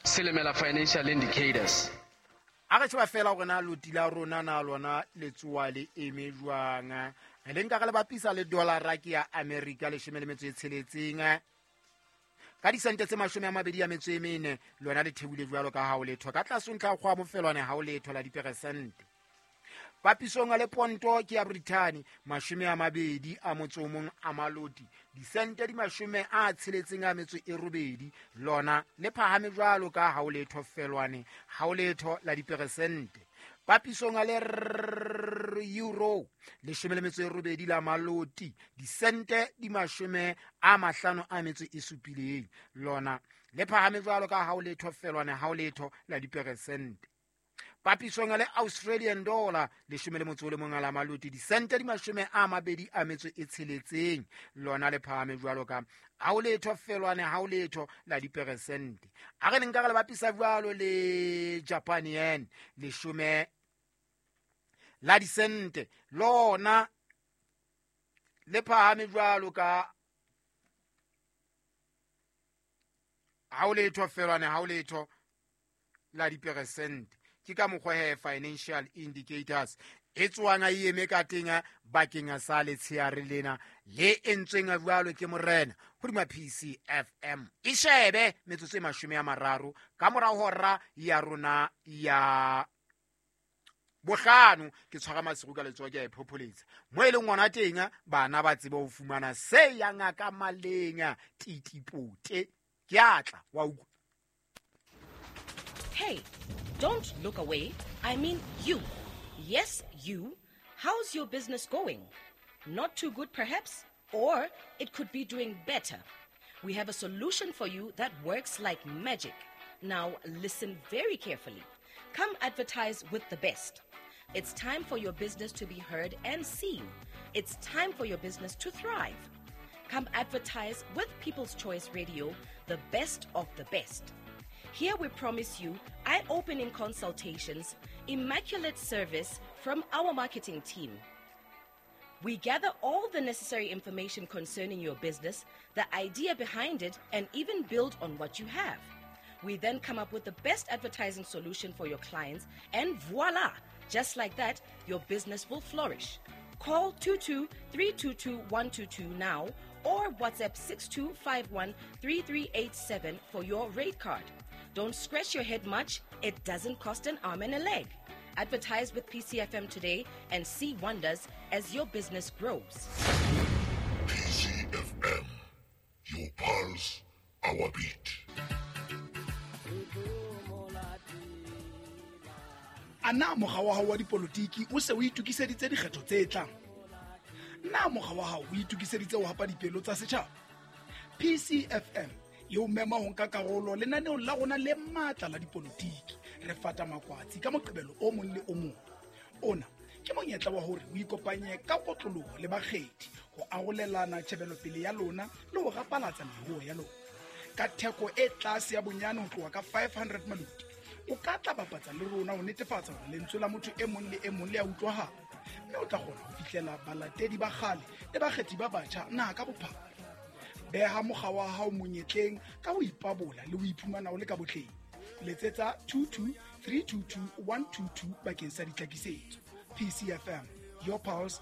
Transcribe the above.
Silimela Financial Indicators. A re sheba fela gore na loti la rona na lona le tsoa le eme jwang. Re le nka re le bapisa le dollara ke ya America 17 ka disente tse 24, lona le theohile jwalo ka ha o letho ka tlase ntlha kgwa mofelwane ha o letho la diperesente. Papisong le ponto ke ya Britain 21 a maloti disente di 68, lona le phahame jwalo ka ha o letho felwane ha o letho la diperesente. Papisong le euro 18 la maloti disente di 57, lona le phahame jwalo ka ha o letho felwane ha o letho la diperesente. Papisong le Australian dollar 11 la maloti disente di 26, lona le phahame jwalo ka ha o letho felwane ha o letho la diperesente. A re nka re le bapisa jwalo le Japan yen 10 la disente, lona le phahame jwalo ka ha o letho felwane ha o letho la diperesente. Ke ka mokgwa he Financial Indicators e tswang a eme ka teng bakeng sa letsheare lena le entsweng jwalo ke morena hodima PCFM. E shebe metsotso e 30 ka mora hora ya rona ya bohlano. Ke tshwara masiru ka letsoho ke a e phopholetsa mo e leng ngwana teng, bana ba tsebe ho fumana se ya ngaka maleng titipote. Ke atla wa utlwa. Hey, don't look away. I mean you. Yes, you. How's your business going? Not too good, perhaps? Or it could be doing better. We have a solution for you that works like magic. Now, listen very carefully. Come advertise with the best. It's time for your business to be heard and seen. It's time for your business to thrive. Come advertise with People's Choice Radio, the best of the best. Here we promise you eye-opening consultations, immaculate service from our marketing team. We gather all the necessary information concerning your business, the idea behind it, and even build on what you have. We then come up with the best advertising solution for your clients, and voila! Just like that, your business will flourish. Call 22-322-122 now or WhatsApp 6251-3387 for your rate card. Don't scratch your head much. It doesn't cost an arm and a leg. Advertise with PCFM today and see wonders as your business grows. PCFM, your pulse, our beat. A na mokga wa hao wa dipolotiki o se o itokiseditse dikgetho tse tlang? Na mokga wa hao o itokiseditse ho hapa dipelo tsa setjhaba? PCFM e o mema ho nka karolo lenaneong la rona le matla la dipolotiki re fata makwatsi ka Moqebelo o mong le o mong. Ona ke monyetla wa hore o ikopanye ka kotloloho le bakgethi ho arolelana tjhebelopele ya lona le ho rapalatsa meruo ya lona ka theko e tlase ya bonyane ho tloha ka 500 maloti. O ka tla bapatsa le rona ho netefatsa hore lentswe la motho e mong le e mong le a utlwahala, mme o tla kgona ho fihlela balatedi ba kgale le bakgethi ba batjha naha ka bophara. Beha mokga wa hao monyetleng ka ho ipabola le ho iphumana o le ka botleng. Letsetsa 22 322 122 bakeng sa ditlhakisetso. PCFM, your pulse.